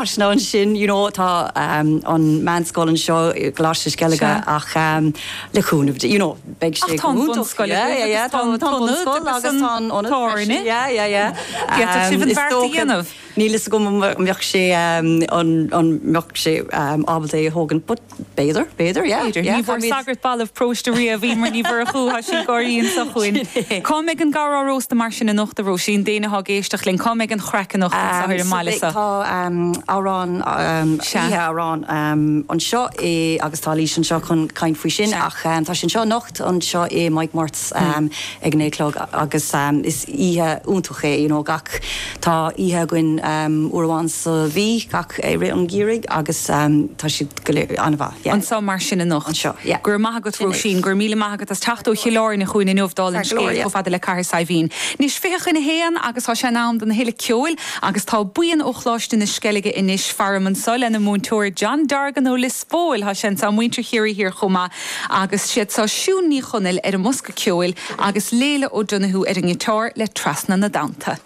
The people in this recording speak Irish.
Áiseanna ansin, you know, tá an meánscoil anseo i gColáiste na Sceilge ach le cúnamh Dé, you know, beidh sé go hiontach. Yeah, yeah, yeah, tá an bunscoil agus tá an ionad freisin. Yeah, yeah, yeah. D'fhéadfadh sibh an bheart a dhéanamh. Níl fhios agam an mbeadh sé, an mbeadh sé ábalta é a thógaint but B'fhéidir, b'fhéidir, yeah. B'fhéidir. Ní bhfuair sagart balbh paróiste riamh, Emer Ní Mhurchú, tá sí ag gáirí anso chugainn. Cá mbeidh an gabhar á róstadh mar sin anocht, a Róisín, d'éinne atá ag éisteacht linn, cá mbeidh an chraic anocht anso ar an mbaile so? Tá amhrán, oíche amhrán anseo i, agus tá Laoise anseo chun caint faoi sin, ach tá sé anseo anocht anseo i Mike Murt's ag a naoi a chlog agus is oíche iontach é, you know, gach, tá oíche againn uair amháin sa mhí, gach, i rith an gheimhridh agus tá siad. go léir an-mhaith, yeah. Anseo mar sin anocht. Anseo, yeah. Go raibh maith agat, Róisín. Go raibh míle maith agat as teacht ó Chill Airne chugainn inniu dála an scéil chomh fada le Cathair Saidhbhín. Anois, 20 chun a haon agus tá sé in am don thuilleadh ceoil agus tá buíon ó Choláiste na Sceilge anois faram anseo lena múinteoir John Dorgan ó Lios Póil. Tá sé anseo, muintir Chiarraí Thiar chomh maith agus siad seo Siún Ní Chonaill ar an mbosca ceoil agus Léila O'Donoghue ar an ngiotár le Trasna na dTonnta.